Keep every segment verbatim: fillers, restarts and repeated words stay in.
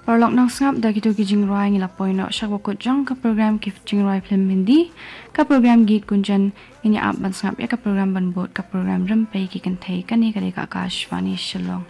Paralok nongsngap, da kito ki jingrwai ngi la poi noh sha kaba kut jong ka program ki jingrwai film Hindi. Ka program Geet Gunjan, ngin ïa ap ban sngap ïa ka program ban bud, ka program Rympei ki Kynthei. Kane ka dei ka Akashvani Shillong.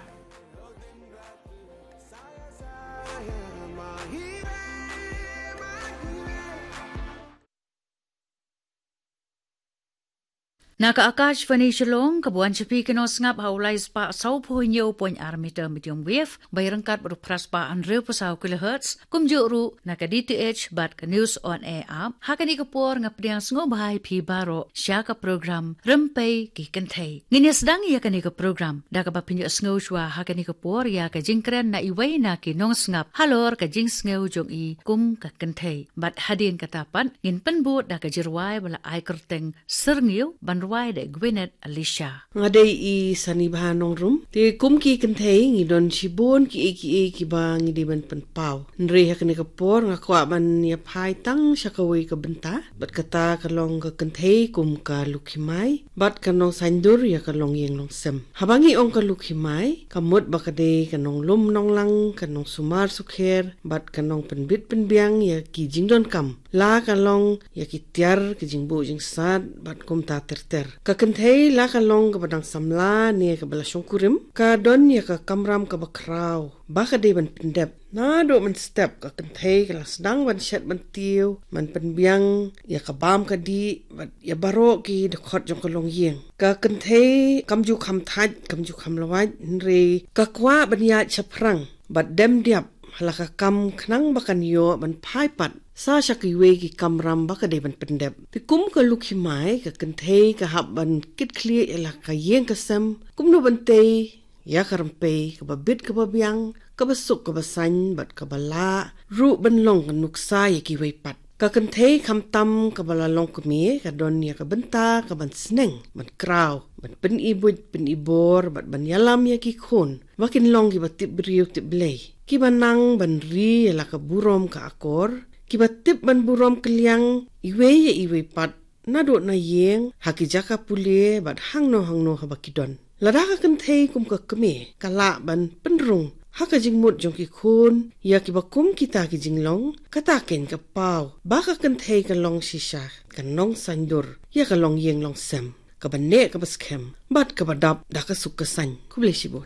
Na ka Akashvani Shillong, kaba wan sha phi ki nongsngap ha u lai spah saw phew hynñiew point ar meter medium wave, ba ïaryngkat bad u phra spah hynriew phew saw kilohertz, kumjuh ruh na ka D T H bad ka News on Air app. Ha kane ka por nga pdiang sngewbha ïa phi baroh sha ka program Rympei ki Kynthei. Ngin ïa sdang ïa kane ka program da kaba pynïohsngew shuwa ha kane ka por ïa ka jingkren na iwei na ki nongsngap halor ka jingsngew jong i kum ka kynthei. Bad hadien kata pat ngin pynbud da ka jingrwai ba la ai kyrteng Syrngiew, ban rwai da Gwyneth Alisha. Nga dei i Sanibha Nongrum. Te kum ki kynthei ngi don shibun kiei kiei kiba ngi dei ban pynpaw. Hynrei ha kane ka por nga kwah ban ïa phai tang sha kawei ka bynta. Bad kata ka long ka kynthei kum ka Lukhimai. Bad ka Nongsaindur ïa ka longïing longsem. Haba ngi ong ka Lukhimai, ka mut ba ka dei ka nonglum nonglang, ka nongsumar sukher, bad ka nongpynbit pynbiang ïa ki jingdonkam. La ka long ïa ki tiar, ki jingbuh jingsat, bad kumta ter ter. Ka kynthei la ka long kaba dang samla ne kaba la shongkurim, ka don ïa ka kamram kaba khraw ba ka dei ban pyndep. Naduh mynstep ka kynthei ka la sdang ban shet ban tiew, ban pynbiang ïa ka bam ka dih, bad ïa baroh ki dkhot jong ka longïing. Ka kynthei kam ju kham thait, kam ju kham lawait, hynrei ka kwah ban ïaid shaphrang bad dem diap ha la ka kam khnang ba kan ïoh ban phai pat sa sha kiwei ki kamram ba ka dei ban pyndep. Te kum ka Lukhimai, ka kynthei ka hap ban kit khlieh ïa la ka ïing ka sem, kumno ban tei ïa ka rympei kaba bit kaba biang, kaba suk kaba saiñ, bad kaba lah ruh ban long ka nuksa ïa kiwei pat. Ka kynthei khamtam kaba la long kmie ka don ïa ka bynta kaban sneng, ban kraw, ban pyni buit pyni bor, bad ban ïalam ïa ki khun ba kin long kiba tip briew tip Blei, kiba nang ban ri ïa la ka burom ka akor, kiba tip ban burom kylliang iwei ïa iwei pat, naduh na ïing, ha ki jaka pule, bad hangno hangno haba ki don. Lada ka kynthei kum ka kmie ka lah ban pynrung ha ka jingmut jong ki khun ïa kiba kum kita ki jinglong, kata keiñ ka paw ba ka kynthei ka long shisha ka nongsaindur ïa ka longïing longsem, kaba neh kaba skhem, bad kaba dap da ka suk ka saiñ. Khublei shibun.